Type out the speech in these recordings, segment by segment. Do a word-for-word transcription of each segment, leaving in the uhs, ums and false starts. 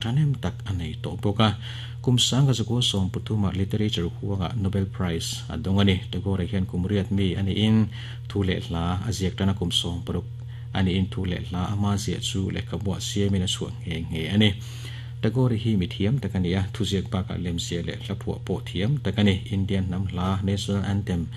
Tanem tak anei to boka kum sanga zago som putuma literature huanga Nobel Prize adongani Tagore hian kumriat mi ani in thule hla aziak tana kum som paruk ani in thule hla ama zia chu le kabwa siamina chu nge nge ani Tagore hi mi thiam takania thuziak baka lemsia le hlaphu po thiam takani Indian nam hla national anthem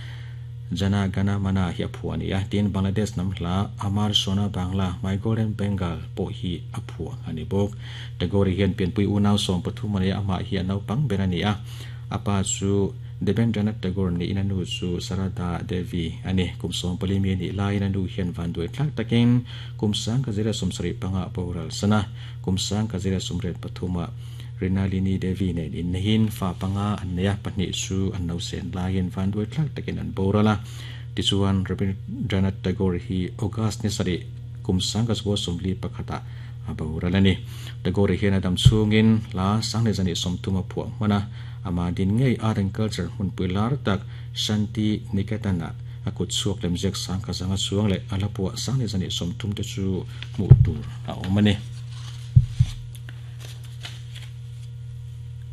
Jana Gana Mana hi aphua ani a tin Bangladesh nam hla Amar Sona Bangla My Golden Bengal po hi aphua ani bok Tagore hian pianpui unaw som pathum ani ama hi anau pang ber ani a apa chu Debendranath Tagore ni inanu chu Sarada Devi ani kum som pali mi ni lai inanu hian van duai thlak takin kum sang ka zira somsari panga boral sana kum sang ka zira somret pathuma Rinalini Devi nen in hin fa panga anneya pahnih chu an no sen lain van duai thlak takin an borala tichuan Rabindranath Tagore hi August ni sari kum sang ka zo somli pakhata a borala ni Tagore hian adam chungin la sang le zani somthuma phuah hmana ama din ngei art and culture hun puilar tak Shanti Niketana akut suak lemziak sang ka zanga chuang le alapua sang le zani somthum te chu mu tur a awm ani.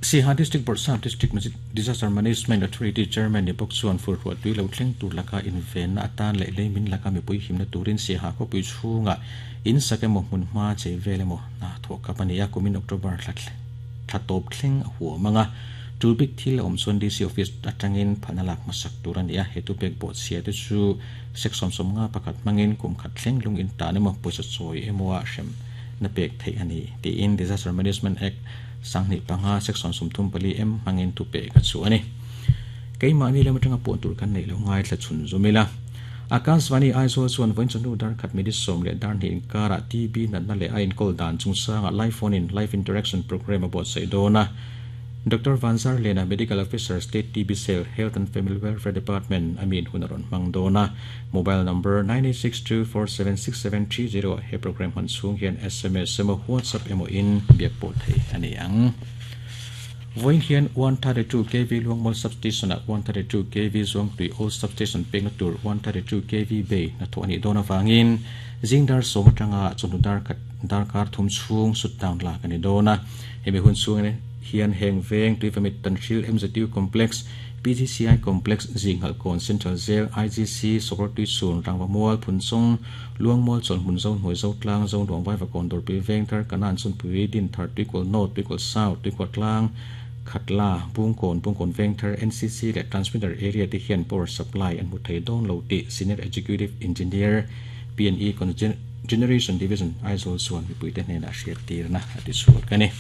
Siha District Board Sub District Disaster Management Authority Chairman ni bok chuan fur ruat tui lo thleng tur laka inven na atan le le min laka mi pui himna turin Siha ko pui chhunga in sakemo hmun hma che velemo na tho kapani ya kumin October thla thatop thleng a huwa manga tulbik thil om chuan D C office atangin phanalak masak turan ya hetu pek bo chia te chu section som nga pakhat mangin kum khat thleng lung in ta ne mo poisa choi emoa hrem na pek thei ani ti in Disaster Management Act sangni panga section sumthum pali m mangin tu pe ka chu ani keima ni lam atanga pon tur kan nei lo ngai thla chun zumila Akashvani Aizawl chuan vain chanu dar khat mi som le dar ni kara T B na na le ain kol dan chung sanga live phone in live interaction program about saidona Doctor Vanzar Lena Medical Officer State T B Cell Health and Family Welfare Department Amin Hunaron Mangdona mobile number nine eight six two four seven six seven three zero he program han chung hian S M S emaw WhatsApp emaw in biak pawh thei ani ang voin hian one thirty-two K V Luangmol substation at one thirty-two K V Zuangtui Old substation peng tur one thirty-two K V Bay na tho ani dona wangin zingdar somtanga chunudar khat darkar thum chung shutdown la kani dona hemi hun chung ne hian heng veng tuifamit tanhril M Z U complex P G C I complex zinghal kon Central Jail I G C sokor tui chun rangwa mual phunchung luangmol chol hmun zo hnuai zo tlang zo ruang vai vakon dor pi veng thar kanan chun pui din thar tuikul north tuikul south tuikul tlang khatla bungkon bungkon veng thar N C C le transmitter area ti hian power supply an mu thei don lo ti senior executive engineer P N E Generation Division Aizawl chuan mipui te hnenah hriat tirna ati chhuak ani.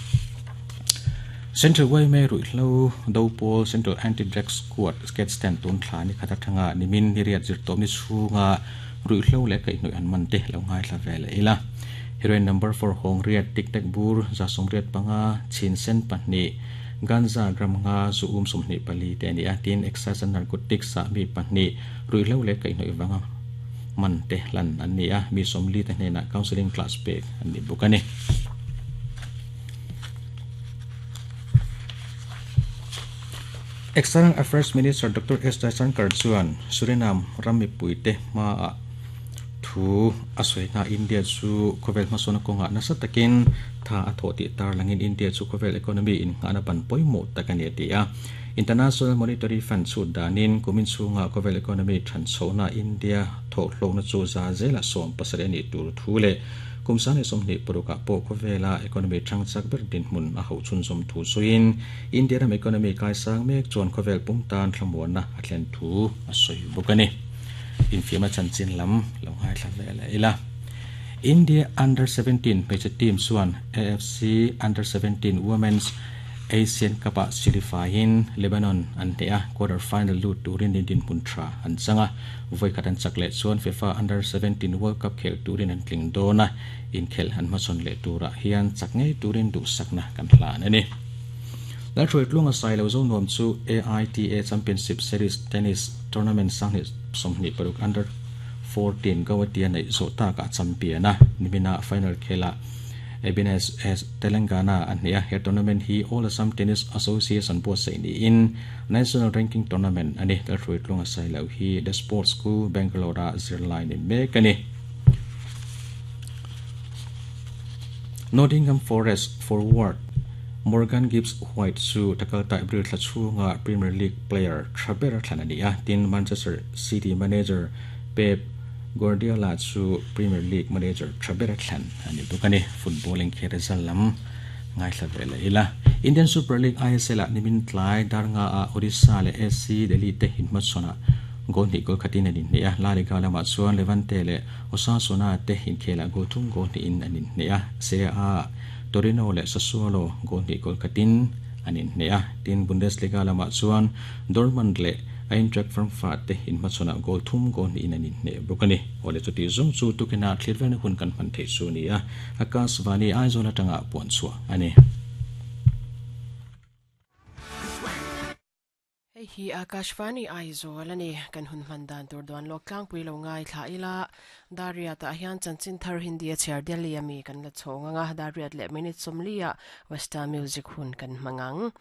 Central Y M A Ruihhlo Dopol Central Anti-Drug Squad sketch stand tun thla ni khata thanga nimin ni riat zir tawm ni chhunga ruihhlo le kaihhnawih an man te lo ngai thla vel ila heroin number four hong riat tik tek bur za som riat panga chin sen pahnih ganja gram nga zu um sawmhnih pali te ani a tin excise and narcotics ah mi pahnih ruihhlo le kaihhnawih wanga man te hlan an ni a mi sawmli te hnenah counseling class pek an ni bawk ani. External Affairs Minister Doctor S. Jaishankar chuan Suriname rammi puite ma a thu a sawi India chu khawvel hmasawna kawnga nasa takin tha a thawh tih tar langin India chu khawvel economy in nghahna ban pawimawh tak ani a ti a International Monetary Fund chu danin kumin chhunga khawvel economy than chhohna India thawh hlawhna chu za zela sawm pasarih ani tur thu le kumsane somni puruka po khawvela economy thangchak ber din hmun a ho chun som thu suin India ram economy kai sang mek chuan khawvel pumtan thlamuanna a thlen thu a sawi bawk ani infiama chanchin lam lo ngai thla vela ila India under seventeen hmeichhe team chuan A F C under seventeen Women's Asian Cup ah qualify-in Lebanon an hne a quarter final lut turin din hmun tha an changa voi khat an chak leh chuan FIFA under seventeen World Cup khel turin an tling dawna inkhel an hmasawn leh turah hian chak ngei turin duh sakna kan hlan ani Lalhruai tlunga sai lo zo nuam chu A I T A Championship Series Tennis Tournament sanghnih sawmhnih paruk under fourteen Guwahati nei zawh takah champion a nimina final khela Ebines S Telangana an hne a he tournament hi All Assam Tennis Association buatsaih niin National Ranking Tournament ani Lalhruai tlunga sai lo hi The Sports School Bangalore a zirlai ni mek ani. Nottingham Forest forward Morgan Gibbs White chu takalta April thla chhunga Premier League player thaber thlan ani a tin Manchester City manager Pep Guardiola chu Premier League manager thaber thlan ani bukani footballing kherezal lam ngai thla vela ila Indian Super League I S L nimin tlai darnga a Odisha le S C Delhi te hinmat sona gol ni gol khatin ani ne a La Liga lama chuan Levante le Osasuna te hinkhela gol thum gol ni in ani ne a Serie A Torino le Sassuolo gol ni gol khatin ani ne a tin Bundesliga lama chuan Dortmund le Eintracht Frankfurt te hinmat sona gol thum gol ni in ani ne bukani ole chuti zong chu tukina thlirven hun kan man thei chu ni a Akashvani Aizawl atanga puan chua ani hi Akashvani Aizawl ani kan hun man dan tur duan lo tlang pui lo ngai thla ila daria ta hian chanchin thar Hindi a chair Delhi ami kan la chhonga nga dariat le minute somlia western music hun kan mangang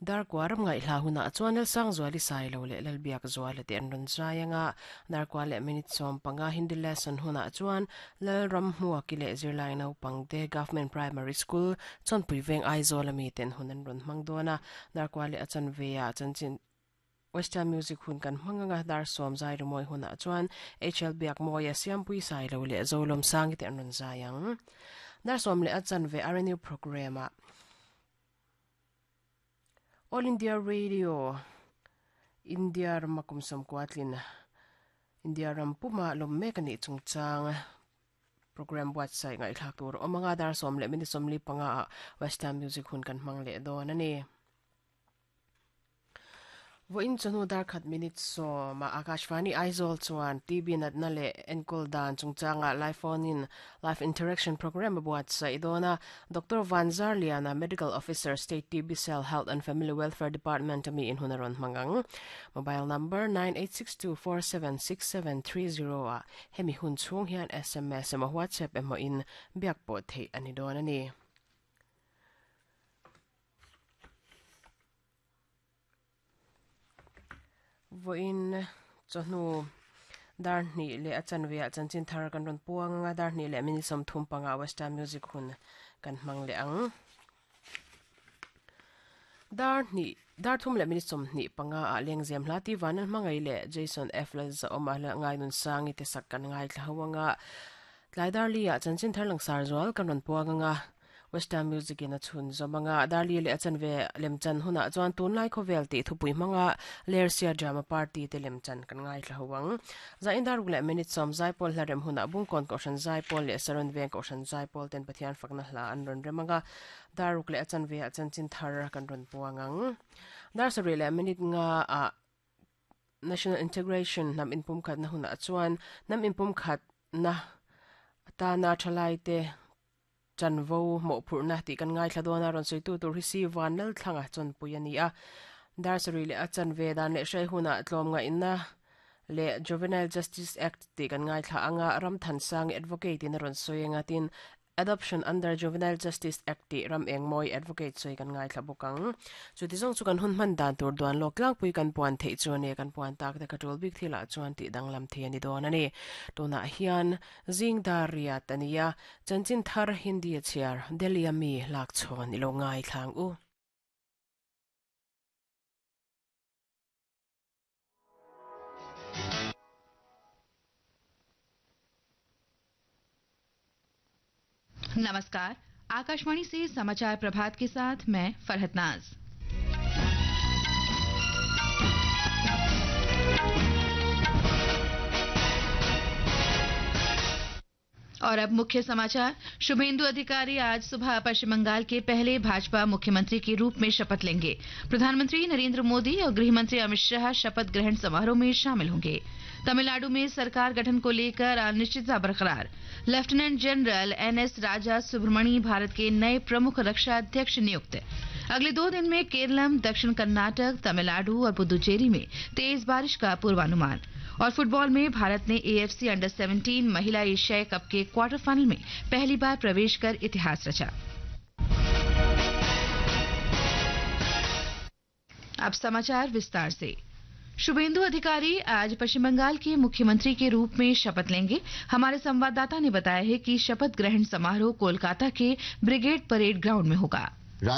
dar kwaram ngai hla huna chuan sang zuali sai lo le lalbiak zuala te an ron zayanga dar kwa le minute som panga Hindi lesson huna chuan lal ram hmuwa ki le zirlai no pangte government primary school chon puiveng Aizawl ami ten hunan ron mangdona dar kwa le achan veya chanchin Western music hun kan manganga dar som zai rumoi huna chuan H L biak moya siampui sai lo le zolom sangi te an ron zayang dar som le achan ve R N U program a All India Radio India ramakum som kwatlin India rampuma lomme kani chungchang program website ngai thlak tur omanga dar som le minute som li panga Western music hun kan mang le don ani vo in chanu dar khat minute so ma Akashvani Aizawl chuan T B nat na le enkol dan chungchanga live phone in live interaction program buat sai dona Doctor Vanzar Liana medical officer state T B cell health and family welfare department ami in hunaron mangang mobile number nine eight six two four seven six seven three zero a hemi hun chung hian S M S emaw WhatsApp emaw in biak pawh thei ani don ani voin chonu dar ni le achan ve achan chin thar kan ron puang nga dar ni le mini som thum panga western music hun kan mang le ang dar ni dar thum le mini som ni panga a lengzem hla ti vanan mangai le Jason F la za oma la ngai nun sangi te sak kan ngai thlawanga tlai dar li a chan chin thar lang sar zwal kan ron puang nga Western music in a chun zomanga darli le achan ve lemchan huna chuan tunlai khovel ti thupui manga lersia drama party te lemchan kan ngai thla huang za indar le minute som zaipol hlarem huna bungkon ko shan zaipol le saron veng ko shan zaipol ten pathian fakna hla an ron remanga daruk le achan ve achan chin thar kan ron puangang dar sari le minute nga a national integration nam inpum khat na huna chuan nam inpum khat na ta na thalai te chanvo mo phurna ti kan ngai thladona ron soitu tur hi si vanal thlanga chon puiani a dar sari le achan ve dan le hrei huna tlom nga inna le Juvenile Justice Act ti kan ngai thla anga ram than sang advocate in ron soinga tin Adoption under Juvenile Justice Act ti ram engmoi advocate soi kan ngai thla bukang chu ti zong chu kan hun man dan tur duan lok lang pui kan puan thei chu ne kan puan tak te katul bik thila chuan ti danglam the ani don ani tuna hian jing daria tania chanchin thar Hindi chiar Delhi ami lak chon ilo ngai thlang u. नमस्कार, आकाशवाणी से समाचार प्रभात के साथ मैं फरहत नाज। और अब मुख्य समाचार। शुभेंदु अधिकारी आज सुबह पश्चिम बंगाल के पहले भाजपा मुख्यमंत्री के रूप में शपथ लेंगे। प्रधानमंत्री नरेंद्र मोदी और गृहमंत्री अमित शाह शपथ ग्रहण समारोह में शामिल होंगे। तमिलनाडु में सरकार गठन को लेकर अनिश्चितता बरकरार। Lieutenant general N S Raja Subramani Bharat के नए प्रमुख रक्षा अध्यक्ष नियुक्त। अगले दो दिन में केरलम, दक्षिण कर्नाटक, तमिलनाडु और पुदुचेरी में तेज बारिश का पूर्वानुमान। और फुटबॉल में भारत ने AFC under seventeen महिला एशियाई कप के क्वार्टर फाइनल में पहली बार प्रवेश कर इतिहास रचा। अब समाचार विस्तार से। Suvendu अधिकारी आज पश्चिम बंगाल के मुख्यमंत्री के रूप में शपथ लेंगे। हमारे संवाददाता ने बताया है कि शपथ ग्रहण समारोह कोलकाता के brigade parade ground में होगा।